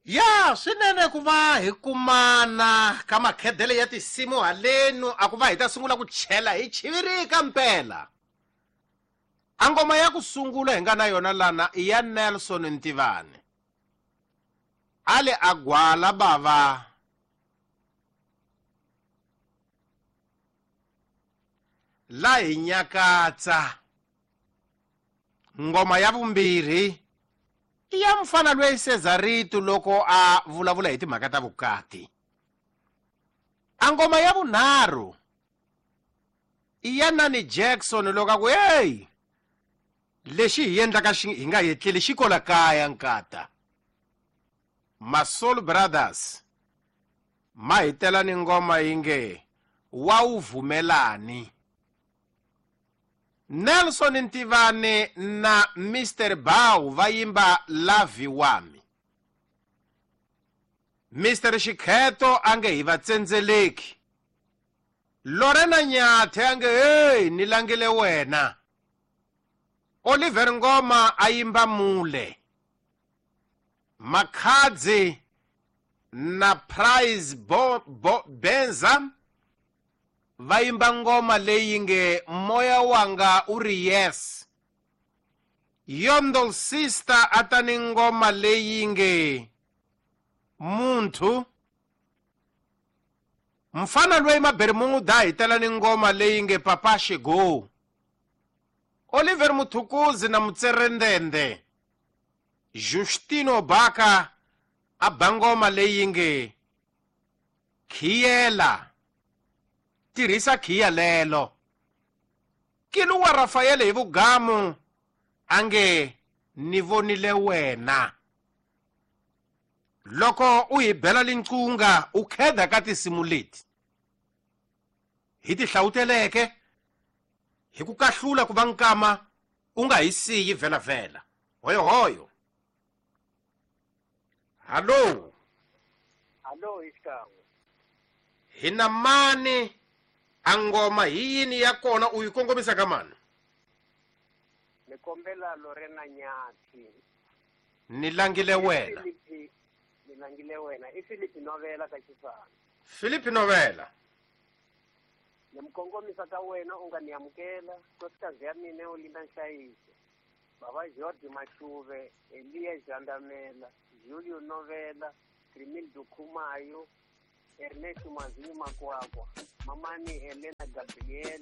Ya swinene ku va hi kumana ka makhedele ya tinsimu halenu a ku va hi ta sungula ku chela hi chivirika mpela. A ngoma ya ku sungula hi nga na yona lana i ya Nelson Ntivani. A le a gwala bava la hi nyakatsa. Ngoma ya vumbirhi i ya mfana loyi Cesarito loko a vulavula hi timhaka ta vukati. A ngoma ya vunharhu i ya Nani Jackson loko a ku hey lexi hi endlaka xi hi nga yetleli xi kola kaya nkata. Masoul Brothers ma hi tela ni ngoma yi nge wa wu vumelani. Nelson Ntivani na Mr Bow va yimba Lavi Wami. Mr Xikheto a nge hi va tsendzeleki. Lorena Nyathe a nge hey ni langile wena. Oliver Ngoma a yimba Mule. Makhadzi na Prize Bo, Bo, Benza va yimba ngoma leyi nge Moya Wanga U Ri Yes. Yondol Sister a ta ni ngoma leyi nge Muntu. Mfana loyi Mabermuda hi tela ni ngoma leyi nge Papa Shego. Oliver Muthukuzi na Mutserendende. Justino Baka a ba ngoma leyi nge Khiyela. Tirhisa khiya lelo. Kiluwa Rafael hi vugamu a nge ni vonile wena. Loko u hi bela linqunga u kheda ka tinsimu leti hi ti hlawuteleke hi ku kahlula ku va nkama u nga hi siyi vhelavhela. Hoyohoyo. Hallo. Hallo hi xikan'we. Hi na mani a ngoma hi yini ya kona u yi kongomisa ka mani? Ni kombela Lorena Nyathi. Ni langile wena. Ni langile wena. I Philip Novela ka Xisana. Philip Novela. Ni mi kongomisa ka wena u nga ni amukela. Nkosikazi ya mina u linda nhlayiso. Baba George Mashuve, Elia Jandamela, Julio Novela, Crimildo Khumayo, Ernesto Mazinyo Makwakwa, Mamani Helena Gabriel,